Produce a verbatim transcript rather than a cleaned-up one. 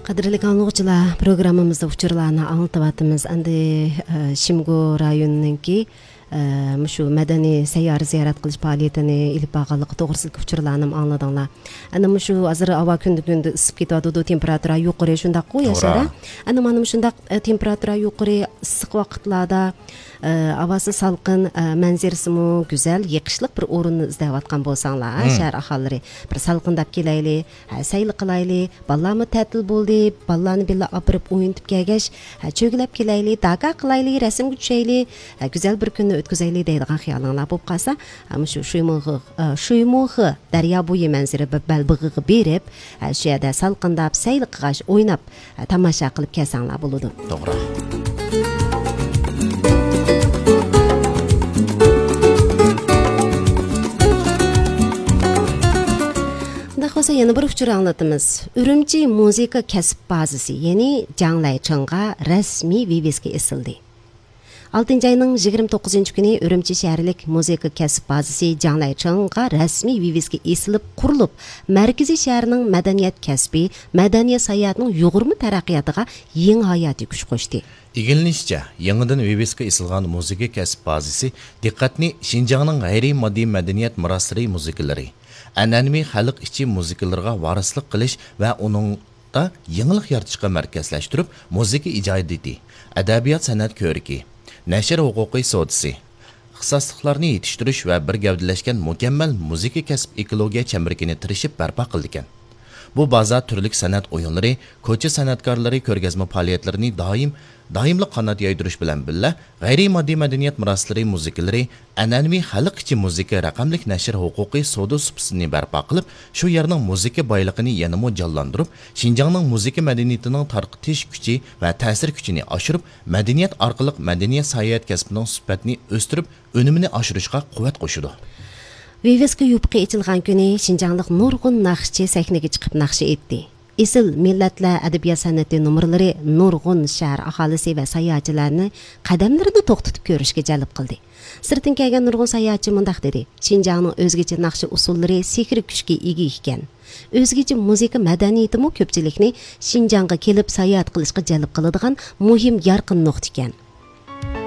قەدىرلىك ئاڭلىغۇچىلار، پروگراممىمىزدا ئۇچۇرلارنى ئاڭلىتىۋاتىمىز. ئەمدى، ئە، شىمگو رايونىنىڭكى، ئە، مۇشۇ مەدەنىي سەييارە زىيارەت قىلىش پائالىيىتىنى ئېلىپ بارغانلىقى توغرىسىدىكى ئۇچۇرلارنىمۇ ئاڭلىدىڭلار. ئەنە مۇشۇ ھازىر ھاۋا كۈندىن كۈندە ئىسسىپ كېتىۋاتىدۇ، تېمپېراتۇرا يۇقىرى، شۇنداققۇ، ياشار، توغرا. ھە؟ ئەنە مانا مۇشۇنداق، ئە، تېمپېراتۇرا يۇقىرى، ئىسسىق ۋاقىتلاردا، ئە، ھاۋاسى سالقىن، ئە، مەنزىرىسىمۇ گۈزەل، يېقىشلىق بىر ئورۇننى ئىزدەۋاتقان بولساڭلار، ھە، مم. شەھەر ئاھالىلىرى، بىر سالقىنداپ كېلەيلى، ھە، سەيلە قىلايلى، بالىلارمۇ تەتىل بولدى، بالىلارنى بىللە ئاپىرىپ ئوينىتىپ كەلگەچ، ھە، چۆگىلەپ كېلەيلى، داكا قىلايلى، رەسىمگە چۈشەيلى، ھە، گۈزەل بىر كۈننى ئۆتكۈزەيلى دەيدىغان خىيالىڭلار بولۇپ قالسا، ھە، مۇشۇ شۇيمۇخې، ئە، شۇيمۇخې دەريا بويى مەنزىرە بىر بەلبېغىغا بېرىپ، ھە، شۇ يەردە سالقىنداپ، سەيلە قىلغاچ، ئويناپ، ھە، تاماشا قىلىپ كەلسەڭلار بولىدۇ. توغرا. ئۇنداق بولسا يەنە بىر ئۇچۇر ئاڭلىتىمىز. ئۈرۈمچى مۇزىكا كەسىپ بازىسى، يەنى جاڭلەيچىڭغا رەسمىي ۋىۋىسكا ئېسىلدى. ئالتىنچى ئاينىڭ يىگىرمە توققۇزىنچى كۈنى ئۈرۈمچى شەھەرلىك مۇزىكا كەسىپ بازىسى جاڭلەيچىڭغا رەسمىي ۋىۋىسكا ئېسىلىپ قۇرۇلۇپ، مەركىزىي شەھەرنىڭ مەدەنىيەت كەسپى، مەدەنىيەت ساياھەتنىڭ يۇغۇرما تەرەققىياتىغا يېڭى ھاياتىي كۈچ قوشتى. ئىگىلىنىشىچە، يېڭىدىن ۋىۋىسكا ئېسىلغان مۇزىكا كەسىپ بازىسى دىققەتنى شىنجاڭنىڭ غەيرىي ماددىي مەدەنىيەت مىراسلىرى مۇزىكىلىرى، ئەنئەنىۋى خەلق ئىچى مۇزىكىلىرىغا ۋارىسلىق قىلىش ۋە ئۇنىڭدا يېڭىلىق يارىتىشقا مەركەزلەشتۈرۈپ، مۇزىكا ئىجادىيىتى، ئەدەبىيات سەنئەت كۆرىكى، نەشر ھوقۇقى سودىسى، ئىختىساسلىقلارنى يېتىشتۈرۈش ۋە بىر گەۋدىلەشكەن مۇكەممەل مۇزىكا كەسىپ ئېكولوگىيە چەمبىرىكىنى تىرىشىپ بەرپا قىلىدىكەن. بۇ بازا تۈرلۈك سەنئەت ئويۇنلىرى، كوچا سەنئەتكارلىرى كۆرگەزمە پائالىيەتلىرىنى دائىم، دائىملىق قانات يايدۇرۇش بىلەن بىللە، غەيرىي ماددىي مەدەنىيەت مىراسلىرى مۇزىكىلىرى، ئەنئەنىۋى خەلق ئىچى مۇزىكا رەقەملىك نەشر ھوقۇقى سودا سۇپىسىنى بەرپا قىلىپ، شۇ يەرنىڭ مۇزىكا بايلىقىنى يەنىمۇ جانلاندۇرۇپ، شىنجاڭنىڭ مۇزىكا مەدەنىيىتىنىڭ تارقىتىش كۈچى ۋە تەسىر كۈچىنى ئاشۇرۇپ، مەدەنىيەت ئارقىلىق مەدەنىيەت ساياھەت كەسپىنىڭ سۈپەتنى ئۆستۈرۈپ، ئۈنۈمىنى ئاشۇرۇشقا قۇۋۋەت قوشىدۇ. ۋىۋىسكا يۇپۇقى ئېچىلغان كۈنى شىنجاڭلىق نۇرغۇن ناخشىچى سەھنىگە چىقىپ ناخشا ئېيتتى. ئېسىل مىللەتلەر ئەدەبىيات سەنئىتى نومۇرلىرى نۇرغۇن شەھەر ئاھالىسى ۋە ساياھەتچىلەرنى قەدەملىرىنى توختىتىپ كۆرۈشكە جەلپ قىلدى. سىرتتىن كەلگەن نۇرغۇن ساياھەتچى مۇنداق دېدى: «شىنجاڭنىڭ ئۆزگىچە ناخشا ئۇسسۇللىرى سېھرىي كۈچكە ئىگە ئىكەن. ئۆزگىچە مۇزىكا مەدەنىيىتىمۇ كۆپچىلىكنى شىنجاڭغا كېلىپ ساياھەت قىلىشقا جەلپ قىلىدىغان مۇھىم يارقىن نۇقتا ئىكەن.»